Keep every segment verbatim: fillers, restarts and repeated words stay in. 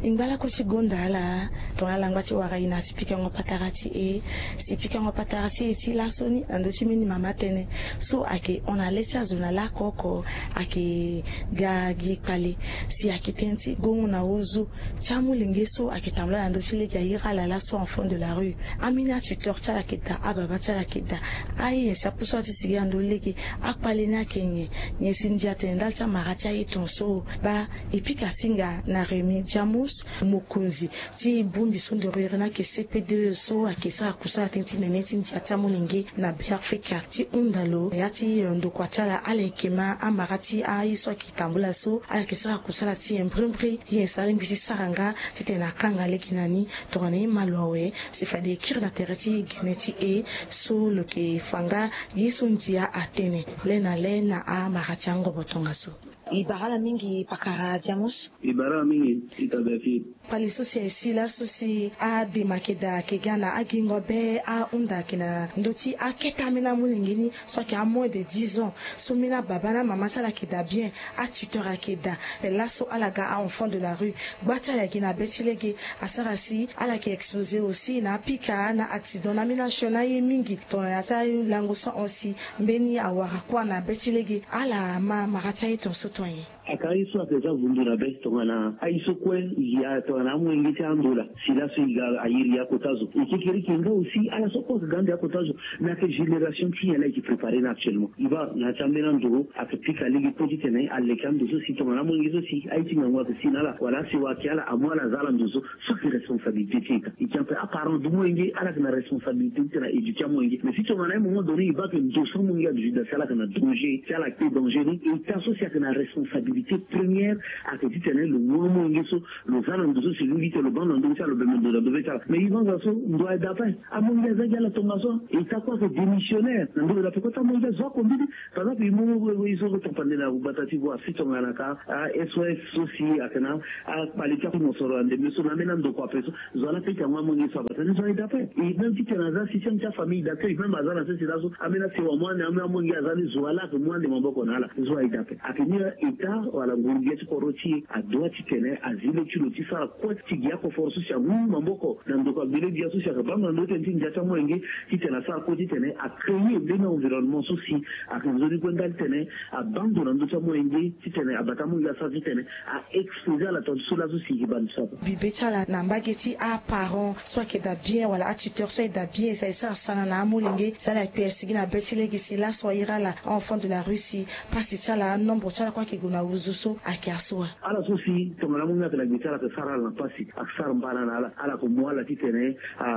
Ngbalako ti gonda ala tongana ala ngba ti wara e na ti pikango patara ti e. Si pikango patara ti e ti laso ni na ndö ti mbeni mama tënë so ayeke hon na le ti azo na laoko oko, ayeke ga gi kpale. Si ayeke tënë ti gongo na ozo ti amolenge so ayeke tambula na ndö ti lege airi ala laso enfant de la rue. Ambeni atuteur ti ala ayeke daa, ababa ti ala ayeke daa. Aye nyen si apusu ala ti sigi na ndö lege? Akpale ni ayeke nyen? Nyen si ndia atene ndali ti amara ti aye tongaso? Baa, e pika singa na Rémy Diamos, mokonzi ti bongbi so ndoro iri ni ayeke C P deux so ayeke sara kusala tënë ti nene ti ndia ti amolenge na Beafrika, ti hunda lo na ya ti, eh, ndokua ti ala, ala yeke ma amara ti aye so ayeke tambula so, ala yeke sara kusala ti e mbrimbri. Ye nyen si alingbi ti sara nga titene akanga lege na ni? Tongana e ma lo awe, si fade e kiri na tere ti gene ti e so lo yeke fa nga ye so ndia atene le na le na amara ti angobo tongaso. E bara ala mingi pakara Diamos. E bara ala mingi, e tabe afi. Kpale so si aye si laso si adema ayeke daa ayeke ga na agingo be, ahunda ayeke na ndö ti akete ambeni amolenge ni so ayeke a moins de dix ans. So mbeni ababa na amama ti ala ayeke daa bien, atuteur ayeke daa. Ape laso ala ga a-enfant de la rue. Gba ti ala ayeke gi na be ti lege, asara si ala yeke expose aussi na apika, na accident, na ambeni action, na aye mingi. Tongana ya ti alango so ahon si mbeni awara kuâ na be ti lege, ala ma mara ti aye tongaso tonga nyen? Aka aye so ayeke za vundu na be tongana aye so kue e gi, tongana amolenge ti ando laa, si laso e ga a iri akota zo. E kekereke nga aussi ala so kue ayeke ga ande akota zo. Na yeke génération ti nyen laa e yeke préparer ni actuellement? E baa na ya ti ambeni ando ayeke pika lege kue titene aleke ando so si tongana amolenge so si aye ti ngangu ayeke si na ala wala asewa ayeke ala amu ala aza ala ndo so. So ayeke responsabilité ti e ka. E tien ape, aparent du molenge ala yeke na responsabilité titene a éduquer amolenge. Mais si tongana un moment donné e baa ke ndo so amolenge aduti daa si ala yeke na danger, si ala kpe danger ni, état so si ayeke na responsabilité première ayeke titene lo mu amolenge so lo za na ndo so si lo lingbi titene lo baa ndo na ndö be ti ala, lo bembe ndo na ndö be ti ala. Mais e baa azo so ndo aye daa ape. Amolenge aza gi ala tongaso. État kue ayeke démissionnaire na ndö be daa ape kota amolenge azo akombi ni. Par exemple e mu e so tongana pande na gbata ti voie si tongana ka a S O S so si ayeke na akpale ti akumosoro na ndembe so na ambeni andokua ape so. Zo ala pete yango amolenge so abata ni zo aye daa ape. E même titene aza système ti afamille d'accueil même aza na sese laso ambeni asewa mu ande ambeni amolenge aza ni zo ala ayeke mu ande maboko na ala zo aye daa ape. Ayeke ni état wala nguru-gbia ti kodro ti e adoit titene azi le ti lo ti sara kue ti gi akoforo so si amu maboko na ndokua gbele-gbia so si ayeke baa ndo na ndö ti tënë ti ndia ti amolenge titene asara kue titene acréer mbeni environnement so si ayeke nzoni kue ndali titene abaa ndo na ndö ti amolenge titene abata amolenge asara titene a exposer ala tonga ti so laso si e ke baa ndo so ape. Bibe ti ala na mbage ti aparent so ayeke daa bien wala atuteur so aye daa bien si aye sara sana na amolenge si ala yeke kpe asigi na be ti lege si laso airi ala enfant de la rue si pasi ti ala anombre ti ala kue ayeke gue na ozo so ayeke aso wa. Ala so si tongana amolenge ayeke na gbe ti ala ayeke sara ala na pasi ayeke sara mbana na ala ala yeke mu ala titene a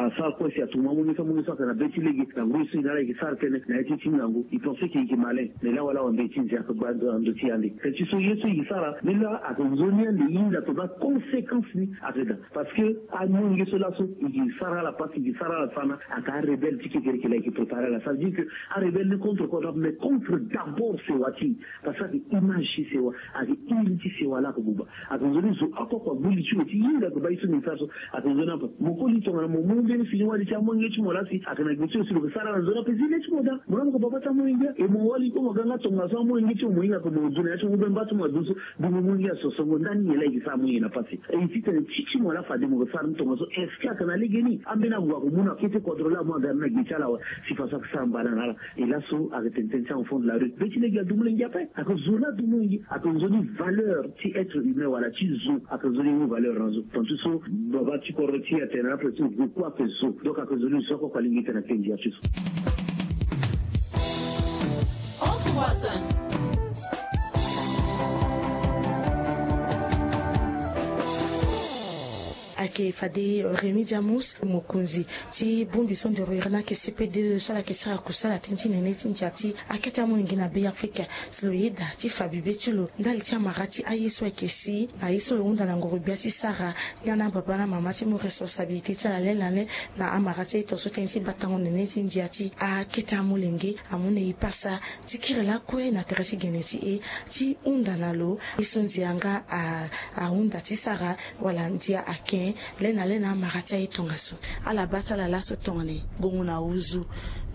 asara kue si atumu amolenge so amolenge so ayeke na be ti lege na ngoi so e na ala e yeke sara tënë na ya ti e ti ngangu e pense ke e yeke malin. Mais lawa lawa mbe ti nze ayeke gba ndo na ndö ti e ande. Teti so ye so e yeke sara ni laa ayeke nzoni ande e hinga tongana conséquence ni ayeke daa. Parce que amolenge so laso e yeke sara ala pasi e yeke sara ala sana ayeke arebelle ti kekereke laa e yeke préparer ala ça veut dire que arebelle ni contre kodro ape mais contre d'abord sewa ti e. Parce que ayeke image ti sewa ayeke iri ti sewa laa ayeke buba. Ayeke nzoni zo oko oko agbu li ti lo ti hinga ayeke baa ye so nyen e sara so. Ayeke nzoni ape mo koli tongana mo mu mbeni fini wali ti amolenge ti mo laa si ayeke na gbe ti lo si lo yeke sara ala nzoni ape zi le ti mo daa mo laa mo yeke baba ti amolenge e mo wali kue mo ga nga tongaso amolenge ti mo mo hinga ayeke mo du na ya ti mo be mba ti mo adu so. Dungo amolenge aso songo ndani nyen laa e yeke sara amolenge na pasi. E titene ti ti mo laa fade mo yeke sara ni tongaso est-ce que ayeke na legeni ambeni ague ayeke mu na kete kodro laa mo aga ni na gbe ti ala awe. Si faso ayeke sara mbana na ala. E laso ayeke tene tënë ti enfant de la rue be ti lege adu molenge ape. Ayeke zo laa adu molenge ayeke nzoni valeur ti être humain wala ti zo ayeke nzoni mu valeur na zo. Tonga ti so baba ti kodro ti e atene na ape so zo kue ayeke zo. Donc ayeke nzoni zo oko oko alingbi tene ayeke ndia ti zo. Entre voisins. Ayeke fade Rémy Diamos mokonzi ti bongbi so ndoro iri ni ayeke C P deux so ala yeke sara kusala tënë ti nene ti ndia ti akete amolenge na Beafrika. Si lo yeda ti fa bibe ti lo ndali ti amara ti aye so ayeke si na ye so lo hunda na ngoro-gbia ti sara nga na ababa na amama ti mu responsabilité ti ala le na le na amara ti aye tongaso tënë ti batango nene ti ndia ti akete amolenge amu na e pasa ti kiri lakue na tere ti gene ti e ti hunda na lo ye so ndia nga ahunda ti sara wala ndia aken. Lena lena amara ti aye tongaso, ala baa ti ala laso tongana e gongo na uzu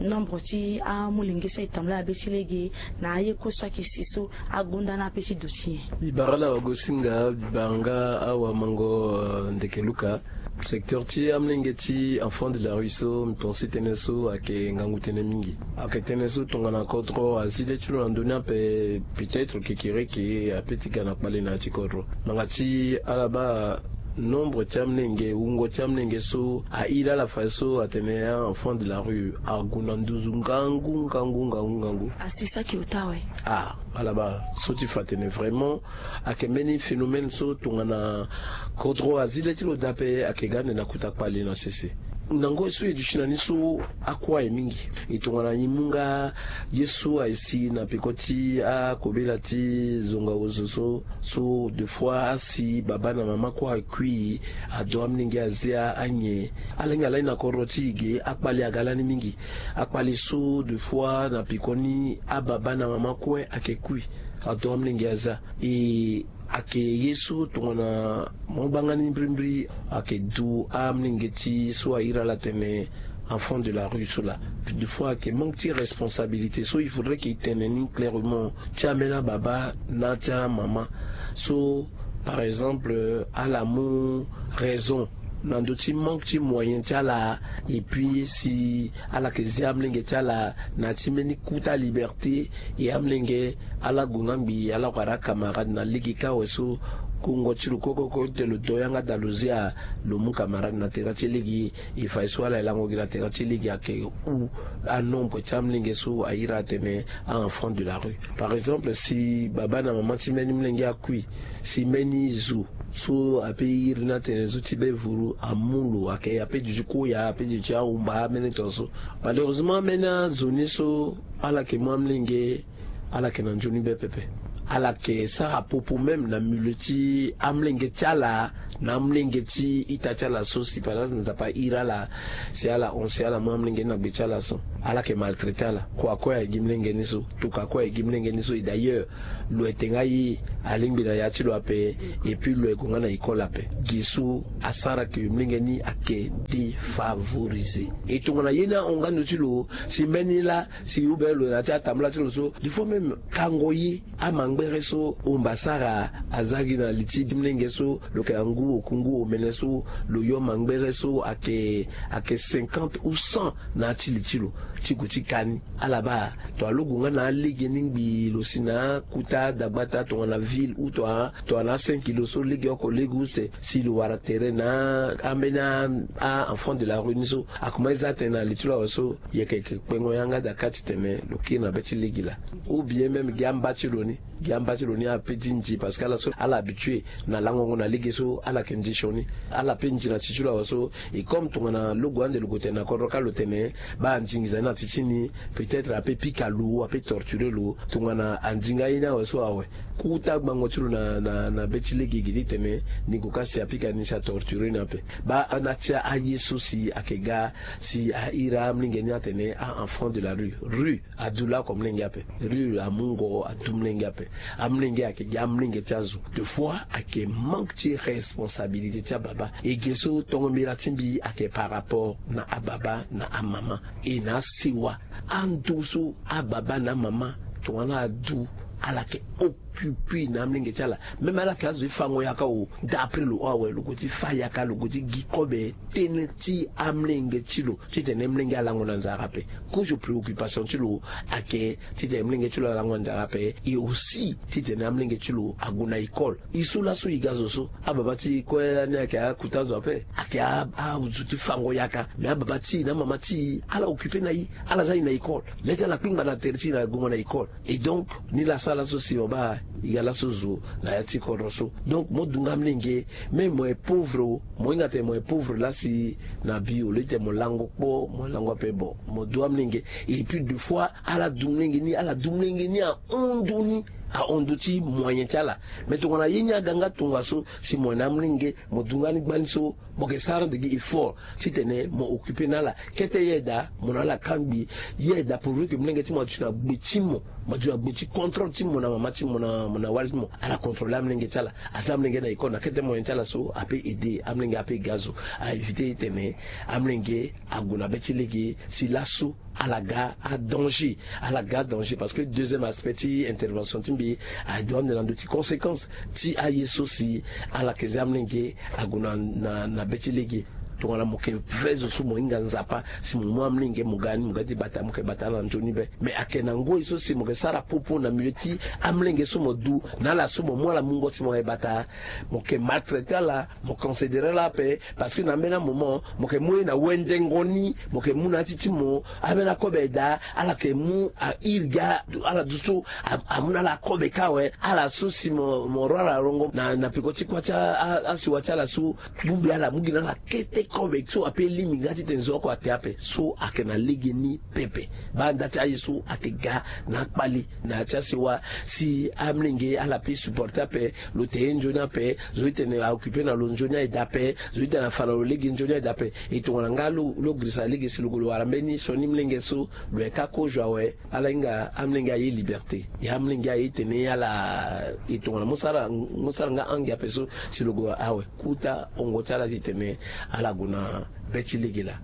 nombre ti amolenge so aye tambula na be ti lege, na aye kue so ayeke si so agonda na ape ti duti nyen? Mbi bara ala wagosinga, mbi bara nga awamango. Ndeke luka, secteur ti amolenge ti enfant de la rue so mbi pense tënë so ayeke ngangu tënë mingi. Ayeke tënë so tongana kodro azi le ti lo na ndoni ape, peut-être kekereke ape ti ga na kpale na ya ti kodro. Nanga ti ala baa nombre ti amolenge, wungo ti amolenge so a iri ala fade so atene a enfant de la rue ague na nduzu ngangu ngangu ngangu ngangu. Asi saki ota awe. Ah, ala baa so ti fa atene vraiment ayeke mbeni phénomène so tongana kodro azi le ti lo daa ape ayeke ga ande na kota kpale na sese. Na ngoi so e duti na ni so, akue aye mingi. E tongana e mu nga ye so aye si na peko ti akobela ti zonga ozo so, so de fois asi baba na mama kue akui, ado amolenge azia anyen. Ala hinga lani na kodro ti e ge, akpale aga lani mingi. Akpale so de fois na peko ni ababa na mama kue ayeke kui, ado amolenge azia. E ayeke ye so tongana mo banga ni mbirimbiri, ayeke du amolenge ti so a iri ala atene enfant de la rue so laa. De fois ayeke manque ti responsabilité so il faudrait que e tene ni clairement ti ambeni ababa na ti amama. So par exemple ala mu raison na ndö ti manque ti moyen ti ala, et puis si ala yeke zi amolenge ti ala na ya ti mbeni kota liberté, e amolenge ala gue nga ngbii ala wara acamarade na lege kâ awe so. Kongo ti lo kokoko ti tene lo do yanga daa lo zia, lo mu camarade na tere ti lege. E fa ye so ala ye lango gi na tere ti lege ayeke hu anombre ti amolenge so a iri atene a enfant de la rue. Par exemple si baba na mama ti mbeni molenge akui, si mbeni zo so ape iri ni atene zo ti be vuru amu lo, ayeke ape duti koya, ape duti ahumba, ambeni tongaso. Malheureusement ambeni azo ni so ala yeke mu amolenge, ala yeke na nzoni be pepe. Ala yeke sara popo même na milieu ti amolenge ti ala, na amolenge ti ita ti ala so si par exemple Nzapa a iri ala, si ala hon si ala mu amolenge ni na gbe ti ala so, ala yeke maltraiter ala. Kua kue aye gi molenge ni so, toka kue aye gi molenge ni so. Et d'ailleurs lo ete nga ye alingbi na ya ti lo ape, et puis lo ye gue nga na école ape. Gi so asara ke molenge ni ayeke défavorisé. E tongana ye ni ahon nga ndo ti lo, si mbeni laa si ou bien lo na ya ti atambula ti lo so, des fois même kango ye, amangbere so omba sara aza gi na li ti molenge so, lo yeke na ngu oku ngu omene so, lo yo mangbere so ayeke, ayeke cinquante ou cent na ya ti li ti lo, ti gue ti ka ni. Ala baa, tongana lo gue nga na alege ni ngbii, lo si na akota dagbata tongana ville ou tongana, tongana cinq kilo so lege oko lege use, si lo wara tere na ambeni a enfant de la rue ni so, akoma ye za tënë na li ti lo awe so, yeke, yeke kpengo yanga daa kâ ti tene lo kiri na be ti lege laa. Ou bien même gi amba ti lo ni, gi amba ti lo ni ape ti nzi parce que ala so ala habitué na langongo na lege so, ala yeke nzi sioni. Ala pe nzi na ti ti lo awe so. Et comme tongana lo gue ande lo gue tene na kodro kâ lo tene baa anzingiza ni na ti ti ni, peut-être ape pika lo, ape torturer lo. Tongana anzi nga ye ni awe so awe, kota gbango ti lo na, na, na be ti lege gi ti tene ni gue kâ si apika ni si atorturer ni ape. Baa na ti aye so si ayeke ga si a iri amolenge ni atene a enfant de la rue. Rue adu laoko molenge ape. Rue amu ngo adu molenge ape. Amolenge ayeke gi amolenge ti azo. Des fois ayeke manque ti responsabilité ti ababa. E ge so tongo mbira ti mbi ayeke par rapport na ababa na amama. E na asewa, ando so ababa na amama tongana adu, ala yeke occupé na amolenge ti ala. Même ala yeke azo ti fango yaka o, d'après lo awe, lo gue ti fa yaka, lo gue ti gi kobe tënë ti amolenge ti lo, titene molenge alango na nzara ape. Kozo préoccupation ti lo ayeke titene molenge ti lo alango na nzara ape. Et aussi titene amolenge ti lo ague na école. E so laso e ga zo so, ababa ti e kue lani ayeke akuta zo ape, ayeke a, azo ti fango yaka. Mais ababa ti e na amama ti e ala occupé na e, ala za e na école. Le ti ala kpingba na tere ti e na gongo na école. Et donc ni laa asara laso si mo baa e ga laso zo na ya ti kodro so. Donc mo du nga molenge, même mo ye pauvre o, mo hinga tene mo ye pauvre laa si na bi au lieu tene mo lango kpo, mo lango ape. Bon, mo du amolenge. Et puis des fois ala du molenge ni, ala du molenge ni ahon ndo ni. ahon ndö ti moyen ti ala. Mais tongana ye ni aga nga tongaso si mo yena amolenge, mo du nga ni gbani so, mo yeke sara nde gi effort titene mo occuper na ala. Kete ye daa mo na ala kangbi. Ye daa pourvu ke molenge ti mo aduti na gbe ti mo, mo aduti na gbe ti contrôle ti mo na mama ti mo na wali ti mo, ala contrôler amolenge ti ala. Aza amolenge na école na kete moyen ti ala so ape aider amolenge ape ga zo. A éviter titene amolenge ague na be ti lege si laso ala ga adanger. Ala ga adanger parce que deuxième aspect ti intervention ti mbi adoit ande na ndö ti conséquence ti aye so si ala yeke za amolenge ague na be ti lege. Tongana mo yeke vrai zo so mo hinga Nzapa si mo mu amolenge mo ga ni mo ga ti bata mo yeke bata ala na nzoni be. Mais ayeke na ngoi so si mo yeke sara popo na milieu ti amolenge so mo du na ala so mo mu ala mungo si mo yeke bata, mo yeke maltraiter ala, mo considérer ala ape. Parce que na ambeni amoment mo yeke mu ye na wendengo ni, mo yeke mu na ya ti ti mo ambeni akobe daa ala yeke mu airi gi ala du so amu na ala akobe kâ awe. Ala so si mo ro ala rongo na peko ti kuâ ti asiwa ti ala so, bongbi ala mu gi na ala kete kobe so ape lingbi nga titene zo oko ate ape. So ayeke na legeni pepe. Baa nda ti aye so ayeke ga na akpali na ya ti asiwa si amolenge ala pe supporter ape. Lo te ye nzoni ape, zo ti tene a occuper na lo nzoni aye daa ape, zo ti tene afa na lo lege nzoni aye daa ape. E tongana nga lo girisa lege si lo gue lo wara mbeni sioni molenge so, lo yeke akozo awe. Ala hinga amolenge aye liberté. Ya amolenge aye tene ala e tongana mo sara nga ange ape so si lo gue awe. Kota hongo ti ala titene ala gue na be ti lege laa.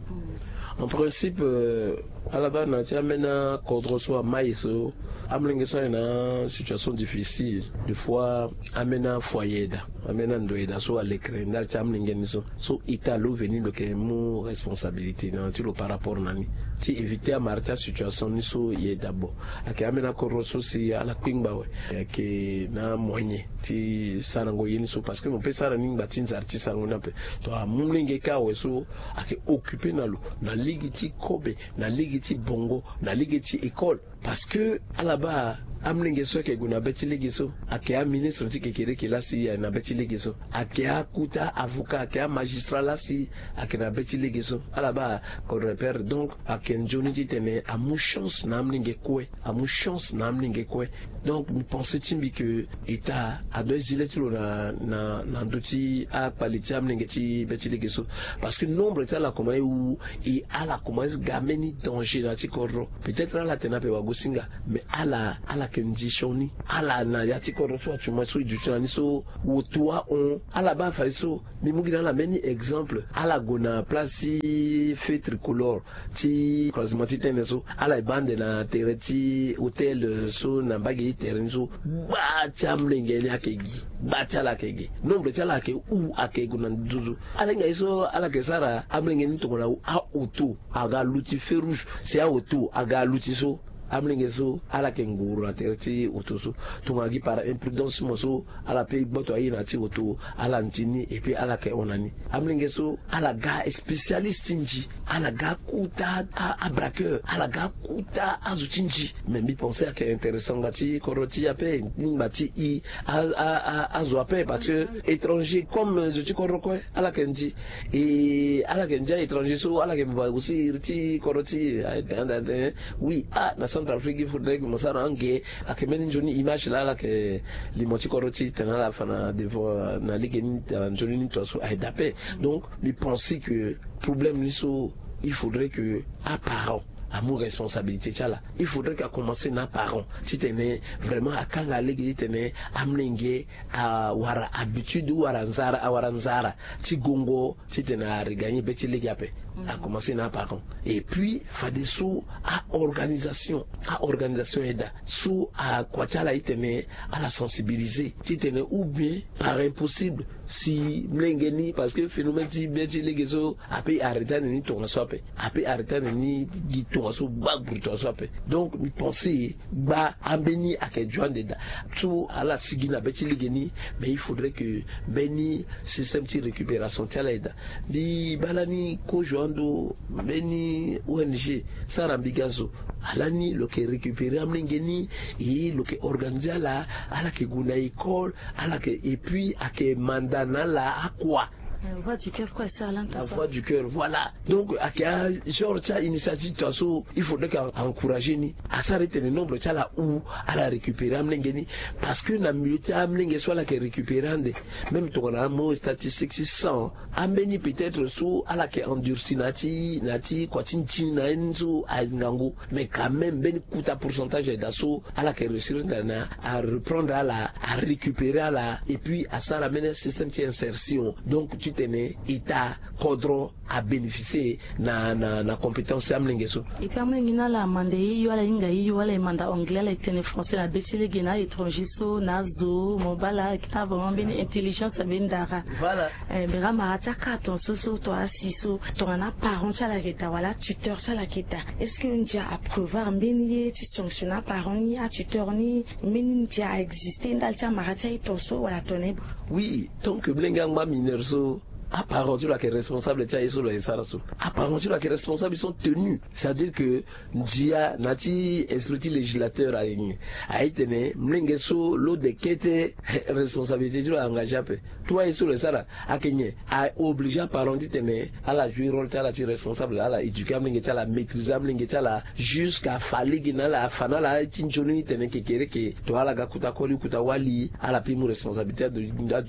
En principe ala baa na ya ti ambeni akodro so amai so, amolenge so aye na asituation difficile. Des fois ambeni afoyer daa, ambeni ando daa so alekere ndali ti amolenge ni so. So ita lo veni lo yeke mu responsabilité na ti lo par rapport na ni ti éviter amara ti asituation ni so. Ye daa bon, ayeke ambeni akodro so si ala kpingba awe. Ayeke na amoyen ti sarango ye ni so parce que mo pe sara ni ngba ti nzara ti sarango ni ape. To amu molenge kâ awe so ayeke occuper na lo na lege ti kobe, na lege ti bongo, na lege ti école. Parce que ala baa amolenge so ayeke gue na be ti lege so ayeke aministre ti kekereke laa si aye na be ti lege so, ayeke akota avocat, ayeke amagistrat laa si ayeke na be ti lege so. Ala baa kodro père donc ayeke nzoni titene amu chance na amolenge kue. Amu chance na amolenge kue. Donc mbi pense ti mbi ke ita adoit zi le ti lo na ndö ti akpali ti amolenge ti be ti lege so. Parce que nombre ti ala komanse wu, e ala komanse ga mbeni danger na ya ti kodro. Peut-être ala tene ape wagosinga, mais ala ala yeke nzi sioni. Ala na ya ti kodro so atuman so e duti na ni so, woto ahon. Ala baa fade so mbi mu gi na ala mbeni exemple. Ala gue na place ti feu tricolore ti croisement ti tene so, ala e baa ande na tere ti hôtel so na mbage ti tere ni so. Gba ti amolenge ni ayeke gi, gba ti ala ayeke gi. Nombre ti ala ayeke wu, ayeke gue na nduzu. Ala hinga ye so ala yeke sara amolenge ni tongana aoto aga luti feu rouge, si aoto aga luti so, amolenge so ala yeke nguru na tere ti oto so. Tongana gi par imprudence ti mo so, ala pe gboto aye na ya ti oto, ala nzi ni et puis ala yeke hon na ni. Amolenge so ala ga spécialiste ti nzi, ala ga kota abraqueur, ala ga kota azo ti nzi. Mais mbi pense ayeke intéressant nga ti kodro ti e ape, ti ngba ti e azo ape. Parce que étranger comme zo ti kodro kue ala yeke nzi. E ala yeke nzi a-étranger so ala yeke va aussi iri ti kodro ti e. Oui, ah, na Centrafrique il faudrait que mo sara ange. Ayeke mbeni nzoni image laa ala yeke limo ti kodro ti e tene ala fa na devant na lege ni, nzoni ni tongaso aye daa ape. Donc mbi pense que problème ni so, il faudrait que aparent amu responsabilité ti ala. Il faudrait que akomanse na aparent titene vraiment akanga lege titene amolenge awara habitude ou awara nzara, awara nzara ti gongo titene aregagner be ti lege ape. Akomanse na aparent. Et puis fadeso a-organisation, a-organisation aye daa so akua ti ala titene ala sensibiliser titene ou bien par impossible si molenge ni, parce que phénomène ti be ti lege so ape arrêter ande ni tongaso ape. Ape arrêter ande ni gi tongaso, gba guru tongaso ape. Donc mbi pense gba ambeni ayeke dio ande daa. So ala sigi na be ti lege ni, mais il faudrait que mbeni système ti récupération ti ala aye daa. Mbi baa lani kozo ando mbeni O N G sara mbi ga zo. Alani lo yeke récupérer amolenge ni, e lo yeke organiser ala, ala yeke gue na école, ala yeke, et puis ayeke manda na ala akua. Voix du cœur, kue asara la. Voix du cœur, voilà. Donc ayeke agenre ti ainitiative ti aso il faudrait ke encourager ni. Asara ti tene nombre ti ala hou, ala récupérer amolenge ni. Parce que na milieu ti amolenge so ala yeke récupérer ande, même tongana amu statistique ti cent, ambeni peut-être so ala yeke endurci na ya ti na ya ti kua ti nti na ye ni so aye ngangu. Mais quand même mbeni kota pourcentage ayeda so ala yeke réussir na a reprendre ala, a récupérer ala, et puis asara mbeni système ti insertion. Donc ti tene état kodro a bénéficier na na na compétence ti amolenge so. Et puis amolenge ni ala manda ye hio, ala hinga ye hio, ala ye manda anglais, ala ye tene français na be ti lege na étranger so na azo mo baa ala yeke na vraiment mbeni intelligence na mbeni dara. Voilà. Bera mara ti akara ton so so to asi so tongana aparent ti ala yeke daa wala atuteur ti ala yeke daa, est-ce que ndia aprévoir mbeni ye ti sanctionner aparent ni, atuteur ni? Mbeni ndia a exister ndali ti amara ti aye ton so wala ton na ye? Oui, tant que mlenge angba mineur so, aparent ti lo ayeke responsable ti aye so lo yeke sara so. Aparent ti lo ayeke responsable, ils sont tenus. C'est-à-dire que ndia na ya ti esprit ti législateur aye, aye tene mlenge so lo de kete responsabilité ti lo a engagé ape. Tout aye so lo sara ayeke nyen? A obligé aparent ti tene ala jouer rôle ti ala ti responsable, ala éduquer amolenge ti ala, maîtriser amolenge ti ala jusqu'à fa lege na ala, afa na ala ti nzoni ti tene kekereke to ala ga kota koli kota wali, ala peut mu responsabilité adu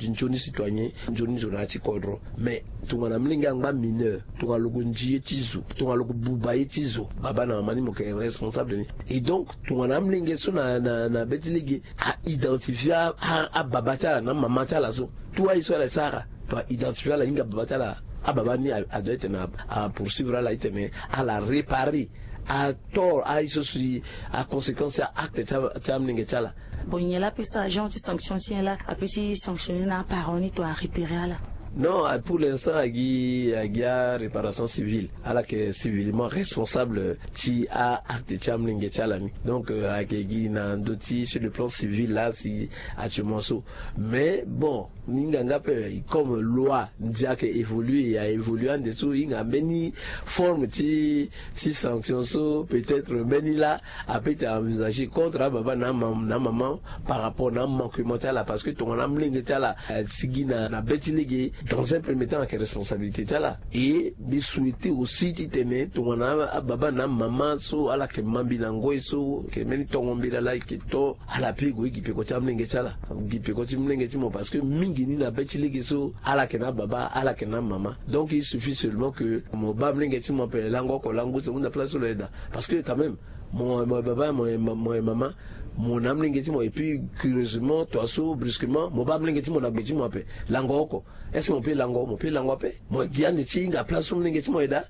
nzoni citoyen, nzoni zo na ya ti kodro. Mais tongana mlenge angba mineur, tongana lo ko ndi ye ti zo, tongana lo ko buba ye ti zo, baba na mama ni mo yeke responsable ni. Et donc tongana amolenge so na na na be ti lege a identifier a ababa ti ala na amama ti ala so, tout aye so ala sara, to a identifier ala, ahinga baba ti ala, ababa ni a doit ti tene a poursuivre ala ti tene ala réparer atort aye so si aconséquence ti a acte ti amolenge ti ala. Bon, nyen laa ape sara genre ti sanction ti nyen laa ape ti sanctionner na aparent ni to a repérer ala? Non, pour l'instant agi agi aréparation civile, ala yeke civilement responsable ti a acte ti amolenge ti ala ni. Donc ayeke gi na ndö ti sur le plan civil laa si actuellement so. Mais bon, ni hinga nga ape, comme loi ndia ayeke évoluer, a évoluer ande so hinga mbeni forme ti ti sanction so peut-être mbeni laa a peut ti envisager contre ababa na amama par rapport na amanquement ti ala. Parce que tongana amolenge ti ala asigi na na be ti lege, dans un premier temps ayeke responsabilité ti ala. Et mbi souhaiter aussi ti tene tongana ababa na amama so ala yeke ma mbi na ngoi so, yeke mbeni tongo mbela laa e yeke to, ala pe gue gi peko ti amolenge ti ala, gi peko ti molenge ti mo. Parce que mingi ni na be ti lege so ala yeke na ababa, ala yeke na amama. Donc il suffit seulement que mo baa molenge ti mo ape, lango oko lango use, hunda place so lo yeda. Parce que quand même mo mo baba, mo mo mama, mo na molenge ti mo, et puis curieusement toi so brusquement mo baa molenge ti mo na gbe ti mo ape, lango oko. Est-ce que mo pe lango? Mo pe lango ape. Mo gi ande ti hinga place so molenge ti mo ayeda.